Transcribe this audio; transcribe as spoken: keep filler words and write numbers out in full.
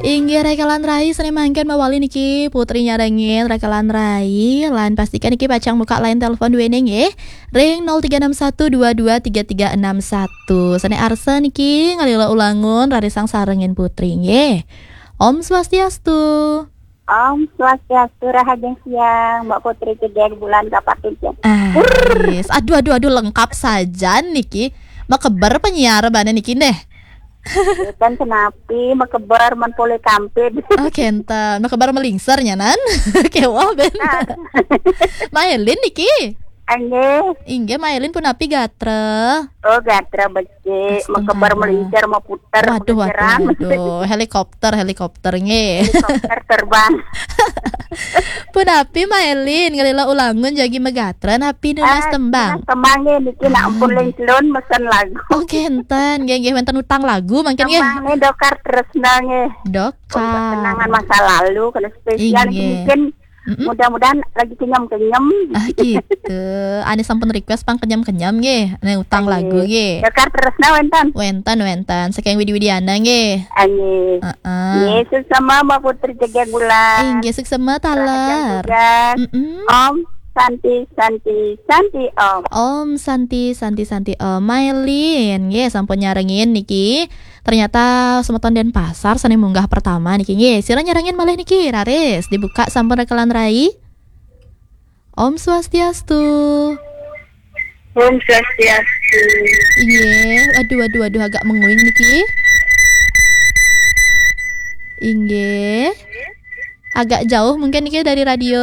Inggih, rakalan rai, sané mangkin mawali niki Putri nyarengin rakalan rai, lan pastikan niki pacang muka line telepon duéné nggih. Ring nol tiga enam satu dua dua tiga tiga enam satu. Sané arsa niki ngalila ulangun rarisang sarengin Putri nggih. Om Swastiastu. Om Swastiastu, rahajeng siang, Mbak Putri Cegek Bulan Kapatincin. Ah, yes. Aduh, aduh, aduh, lengkap saja niki. Makeber penyiar bana niki neh. Kan kenapi, makeber men polih kampid. Oh, kenten. Makeber melingser nyanan. Kéweh ben. Mailin niki. Inggih. Inggih, Mailin punapi gatra? Oh, gatra becik, Astungkara. Makeber melincer, maputer, waduh, waduh, melinceran. Waduh. Helikopter, helikopter nggih. Helikopter terbang. Punapi Mailin, ngalila ulangun jagi magatra napi nunas tembang? Ah, nunas tembang nggih, niki nak ampun lengkelun mesen lagu. Oh, kenten, nggih, nggih, wénten utang lagu mangkin nggih. Tembang nggih, Dokar Tresna nggih. Dokar. Kenangan masa lalu, kena spesial nggih. Mungkin Mm-mm. Mudah-mudahan lagi kenyem-kenyem. Ah, gitu. Ané sampun request pang kenyem-kenyem nggih. Ané utang lagu nggih. Dokar Tresna wénten? Wénten, wénten. Saking Widi Widiana nggih. Nggih. Heeh. Nggih, suksema Mbak Putri Cegek Bulan. Inggih, suksema taler. Tugas. Mm-mm. Om Santi, Santi, Santi Om. Om Santi, Santi, Santi Om. Mailin nggih, sampun nyarengin niki. Ternyata semeton Denpasar sané munggah pertama niki nggih. Sira nyarengin malih niki, raris dibuka sampun rakalan rai. Om Swastiastu. Om Swastiastu. Inggih, waduh, waduh, waduh, agak menguing niki. Inggih. Agak jauh mungkin niki dari radio.